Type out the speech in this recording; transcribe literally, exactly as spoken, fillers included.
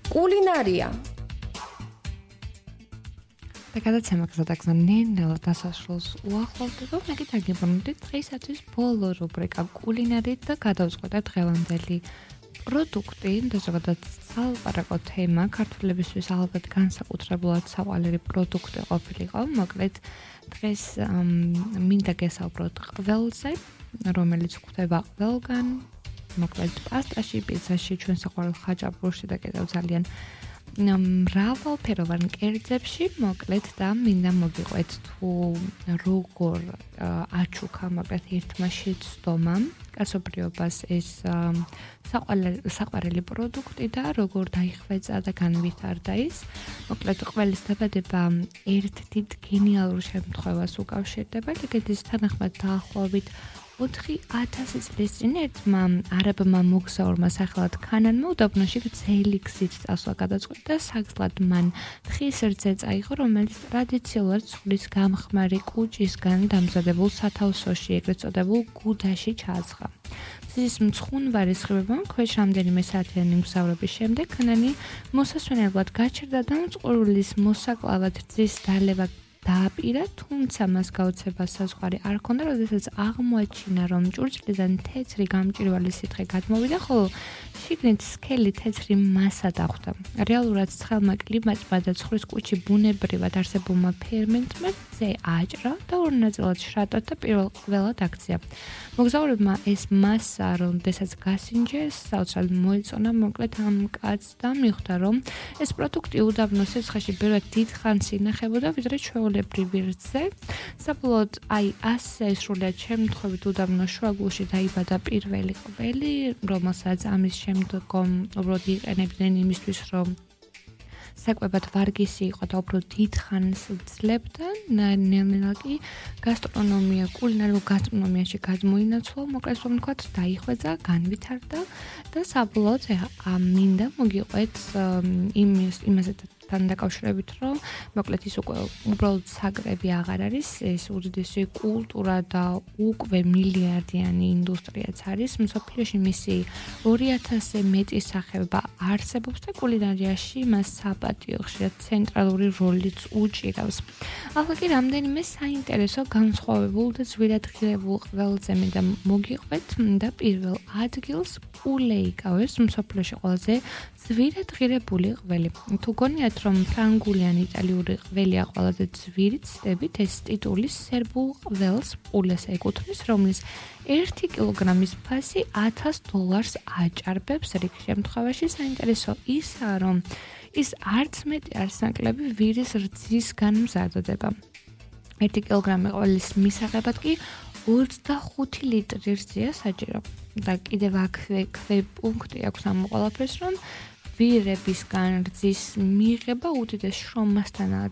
კულინარია. და გადაცემა გზადაგზა ნელ-ნელა დასასრულს უახლოვდება, მე კიდე გიბრუნდით დღეისათვის ბოლო რუბრიკა კულინარით და გადავწყვეტა დღევანდელი პროდუქტი და ზოგადად სალაპარაკო თემა ქართველებისთვის ალბათ განსაკუთრებულად საყვარელი პროდუქტი ყოფილიყო. მოკლედ დღეს მინდა გესაუბროთ ყველზე, რომელიც გვხვდება ყველგან, მოკლედ პასტაში, პიცაში, ჩვენ საყვარელ ხაჭაპურში და კიდევ ძალიან მრავალფეროვან კერძებში, მოკლედ და მინდა მოგიყვეთ თუ როგორ აჩუქა მოკლედ ერთმა შეცდომამ კაცობრიობას ეს საყვარელი პროდუქტი და როგორ დაიხვეწა და განვითარდა ის. მოკლედ ყველის დაბადება ერთ დიდ გენიალურ შემთხვევას უკავშირდება, ლეგენდის თანახმად დაახლოებით ოთხი ათასი წლის წინ ერთმა არაბმა მოგზაურმა სახელად ქანანმა უდაბნოში გრძელი გზით წასვლა გადაწყვიტა და საგზლად მან თხის რძე წაიღო, რომელიც ტრადიციულად ცხვრის გამხმარი კუჭისგან დამზადებულ სათავსოში, ეგრეთ წოდებულ გუდაში ჩააცხა. მზის მცხუნვარი სხივებამ ქვეშ რამდენიმე საათიანი მგზავრობის შემდეგ ქანანი მოსასვენებლად გაჩერდა და მწყურულის მოსაკლავად რძის დალევა დააპირა, თუმცა მას გაუცება საზღვარი არ ჰქონდა, როდესაც აღმოაჩინა, რომ ჭურჭლიდან თეთრი გამჭვირვალე სითხე გადმოვიდა, ხოლო შიგნით სქელი თეთრი მასა დახვდა. რეალურად ცხელმა კლიმატმა და ცხვრის კუჭი ბუნებრივად არსებულმა ფერმენტმა ზე აჭრა და ორ ნაწილად შრატა და პირველად აქცია. მოგზაურებმა ეს მასა, როდესაც გასინჯეს, საოცრად მოეწონა, მოკლედ ამ კაცს და მიხვდა, რომ ეს პროდუქტი უდაბნოს სიცხეში ბევრად დიდ ხანს ინახებოდა, ვიდრე ჩვეულებრივი რძე. საბოლოოდ, აი ასე სრულიად შემთხვევით უდაბნოს შუაგულში დაიბადა პირველი ყველი, რომელსაც ამის შემდგომ უბრალოდ იყენებდნენ იმისთვის, რომ საკვებად ვარგისი იყო და უფრო დიდ ხანს ძლებდა. ნელ-ნელა კი გასტრონომია, კულინარიულ გასტრონომიაში გადმოინაცვლა, მოკლედ რომ ვთქვათ, დაიხვეწა, განვითარდა და საბოლოოდ მინდა მოგიყვეთ იმის იმაზე თან დაკავშირებით, რომ მოკლედ ის უკვე უბრალოდ საკრები აღარ არის, ეს უდიდესი კულტურა და უკვე მილიარდიანი ინდუსტრიაც არის. მსოფლიოში მისი ორი ათასზე მეტი სახეობა არსებობს და კულინარიაში მას საპატიო ხშირად ცენტრალური როლიც უჭირავს. ახლა კი რამდენიმე საინტერესო განსხვავებულ და ძვირადღირებულ ყველზე მინდა მოგიყვეთ და პირველ ადგილს პულე იკავებს მსოფლიოში ყველაზე ძვირადღირებული ყველი. თუ გონიათ რომ ფრანგული ან იტალიური ყველია ყველაზე ძვირი ცდებით, ეს ტიტული სერბულ ყველს პულეს ეკუთვნის, რომლის ერთი კილოგრამის ფასი ათას დოლარს აჭარბებს. რიგ შემთხვევაში საინტერესო ისაა, რომ ის არც მეტი არც ნაკლები ვირის რძისგან მზადდება. ერთი კილოგრამი ყველის მისაღებად კი ოცდახუთი ლიტრი რძია საჭირო. და კიდევ აქვე პუნქტი აქვს ამ ყველაფერს, რომ ვირებისგან რძის მიღება უდიდეს შრომასთანაა